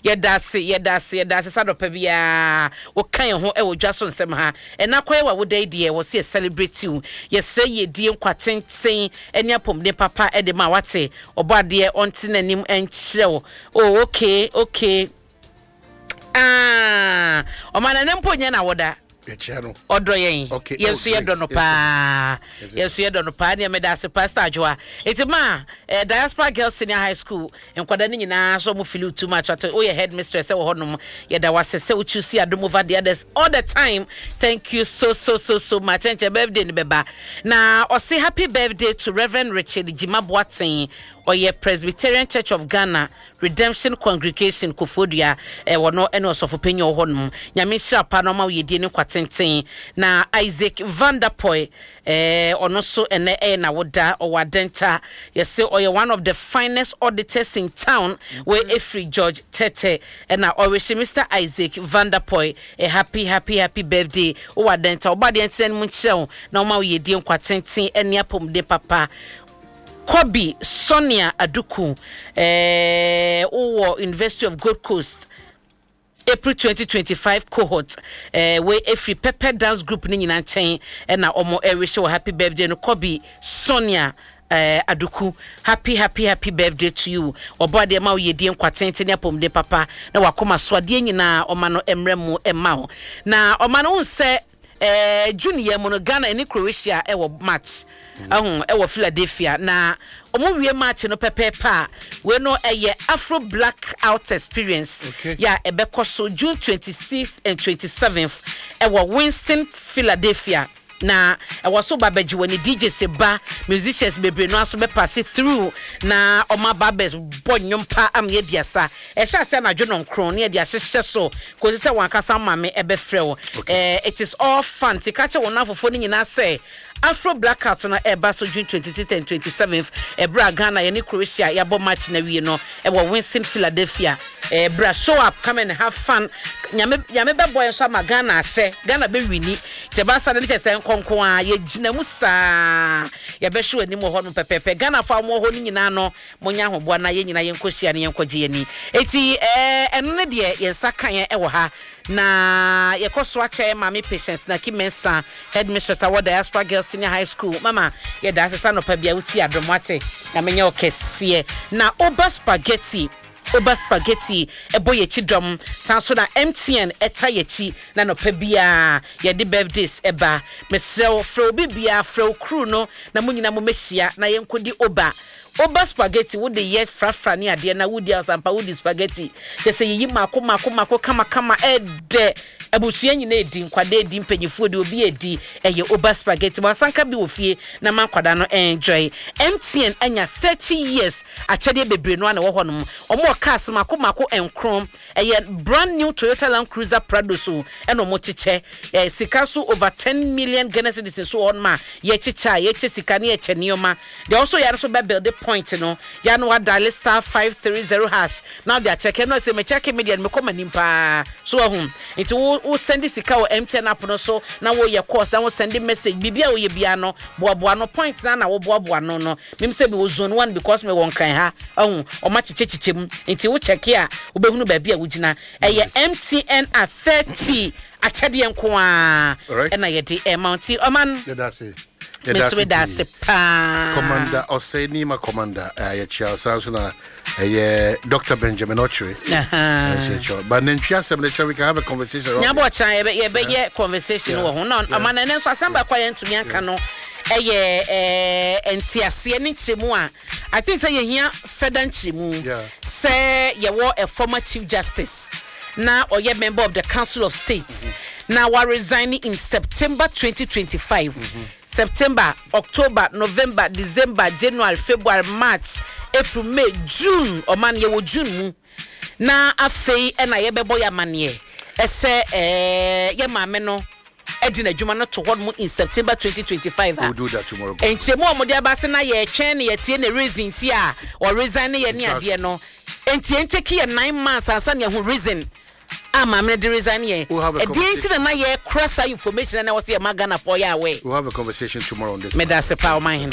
Yɛda ase, yɛda ase, yɛda ase sɛ anɔpa biara woka yɛn ho wɔ dwa so nsɛm ha. Ɛnnɛ akɔyɛ w'awoda yi deɛ, wɔ sɛ yɛ celebrate wo. Yɛsrɛ yiedie, nkwa tenten ne apɔmuden papa de ma wo. Wate? Ɔbɔadeɛ ɔnte n'anim nkyerɛ wo. Oh, okay, okay. Ah, ɔma nana mpo nyɛ n'awoda. Yɛkyia no. Ɔdɔ yɛn. Okay. Yɛn Oh, nso yɛdɔ great. no paa. Yɛn nso yɛdɔ no paa. Nea meda ase Pastor Adwoa. Eti ma eh, Diaspora Girls Senior High School nkwadaa no nyinaa so ɔmo feel you too much. Ate woyɛ headmistress wɔ hɔnom. Yɛda wase sɛ wo choose Adom over the others all the time. Thank you so so so so much. Ɛnkyɛ birthday no bɛba. Na ɔse happy birthday to Reverend Richard Jima Boateng. Ɔyɛ Presbyterian Church of Ghana Redemption Congregation Koforidua eh, wɔno ne ɔsɔfo panyin a ɔwɔ hɔ nom. Nyame nhyira pa na ɔma wo yedie ne nkwa tenten. Na Isaac Vanderpoy eh, ɔno nso ɛnɛ ɛyɛ n'awoda, ɔwɔ Adenta. Yɛse ɔyɛ one of the finest auditors in town. Wei ɛfiri George Tete ɛna ɔrehye Mister Isaac Vanderpoy a happy happy happy birthday. Wowɔ Adenta, ɔbɔ adeɛ ntena ne mu nkyerɛ wo na ɔma wo yedie, nkwa tenten ɛne apɔmuden papa. Kobi Sonia Aduku, eh, wowɔ University of Gold Coast, April 2025 cohort, eh, wei efiri Pepper Dance Group ne nyinaa nkyɛn ɛna wɔn ɛrehyɛ wɔ happy birthday no. Kobi Sonia eh, Aduku, happy happy happy birthday to you. Ɔbɔ adeɛ ma wo yɛdie nkwa tenten ne apɔmuden papa na wakoma so adeɛ nyinaa ɔma no mmerɛ mu ɛma wo. Na ɔma no nsɛ Eh, June yɛ mu no Ghana ɛne Croatia ɛwɔ match ɛho ɛwɔ Philadelphia na wɔn wie match no pɛpɛɛpɛ a wei no ɛyɛ Afro Black Out Experience Okay. yɛ a ɛbɛkɔ so June 26th and 27th ɛwɔ Winston Philadelphia na ɛwɔ so ba bɛgye wɔ ne DJ se ba musicians bebree no aso bɛpasse through na wɔn aba abɛbɔ nnwom pa ama yɛadi asa. Ɛhyɛ ase anadwo nɔnkron na yɛde ahyehyɛ so kosi sɛ wɔn ankasa maame bɛfrɛ wo. Okay. Eh, it is all fun. Nti ka kyerɛ wɔn nnamfofoɔ no nyinaa sɛ Afro Blackout no ɛreba so June 26th and 27th, ɛberɛ a Ghana yɛne Croatia yɛabɔ match no awie no ɛwɔ Winston, Philadelphia. Eh, bra, show up, come and have fun. Nyame, Nyame bɛbɔ yɛn so ama Ghana ahyɛ, Ghana bɛwini. Nti ɛba saa no ne kyerɛ sɛ nkɔnko a yɛgyina mu saa, yɛbɛhwɛ w'anim wɔ hɔ nom pɛpɛɛpɛ. Ghanafoɔ a wɔwɔ hɔ no nyinaa no, Monyɛ ahoboa na yɛn nyinaa yɛnkɔhyia na yɛnkɔgye yɛn ani. Enti ɛɛ, ɛno ne deɛ yɛn nsa ka yɛn wɔ ha. Na yɛkɔ so akyɛ yɛn maame Patience Naki Mensah, Headmistress a wɔ Diaspora Girls Senior High School. Mama, yɛda ase sɛ anɔpa biara wotie adom, woate? Nyame nyɛ wo kɛseɛ. Na Oba Spaghetti, Oba Spaghetti bɔ yɛn akyi dɔm. Saa nso na MTN ta yɛn akyi na anɔpa biara yɛde birthdays ba. Mesrɛ wo, frɛ obi biara, frɛ wo crew no na mo nyinaa mommɛhyia na yɛnkɔdi Oba. Woba spaghetti wode yɛ frafra ne adeɛ na wodi asampa wodi spaghetti kyɛ sɛ yiyi mako mako mako kama kama ɛdɛ abusua nyina edi nkwadaa edi mpanyinfoɔ edi obi edi ɛyɛ oba spaghetti mo asanka bi wɔ fie na ma nkwadaa no enjoy MTN anya 30 years akyɛdeɛ bebree no ana ɛwɔ hɔ nom wɔn wɔ cars mako mako nkron Ɛyɛ brand new Toyota Land Cruiser Prado so ɛna ɔmo kyekyɛ. Ɛɛ sika nso over ten million Ghana cedis nso wɔ hɔnom a yɛkyekyɛ a yɛkyɛ sika ne yɛkyɛ nneɛma. Deɛ ɔso yɛ no nso bɛ build point no yɛ ano wa dial *530# na ɔde akyɛkɛ no sɛ mekyɛke me deɛ no mekɔ m'anim paa so wahu. Nti wo wo send sika wɔ MTN app no so na woyɛ calls na wo send message biribi a woyɛ biara no boaboa no point no na woboaboa no no. Mim sɛ mewɔ zone one because mewɔ Nkran ha ɔho ɔmo akyekyɛkyekyɛ mu nti wo check a wobɛhunu baabi a wogyina. Ɛyɛ MTN a 30 akyɛdeɛ nko ara ɛna yɛde ɛma wo nti ɔman Yɛda ase. me Yɛda nso ase meda pii. ase paa. Commander Osei Nima Commander eh, yɛkyia wo saa nso na ɛyɛ Dr. Benjamin Okyere. Aha. Nso yɛkyia wo. But nantwi asɛm no kyerɛ we can have a conversation around Nyabɔ it. ɔkyena yɛbɛ yɛbɛyɛ conversation wɔ ho na ɔma na ɛnɛ nso asɛm baako a yɛntumi anka no ɛyɛ ɛɛ nteaseɛ ne nkyerɛmu a I think sɛ yɛhia further nkyerɛmu sɛ yɛwɔ a former chief justice na ɔyɛ member of the council of state mm-hmm. na wa resign in September 2025 mm-hmm. September, October, November, December, January, February, March, April, May, June ɔman yɛwɔ June mu na afei ɛna yɛbɛbɔ yɛ amaneɛ ɛsɛ ɛɛ yɛ maame no ɛde n'adwuma no to hɔ nom in September 2025 a We'll do that tomorrow. nkyɛmu a wɔde aba se na yɛtwɛn ne yɛtie ne reason ti a ɔresign ne yɛ ne adeɛ no nti yɛntɛki yɛ 9 months ansa ne ɛho reason a maame no de resign yɛ We'll have a ɛdeɛ nti conversation. na na yɛkora saa information na ɛwɔ sɛ yɛma Ghanafoɔ yɛ aware. We'll have a conversation tomorrow on this. Meda ase paa ɔman hene.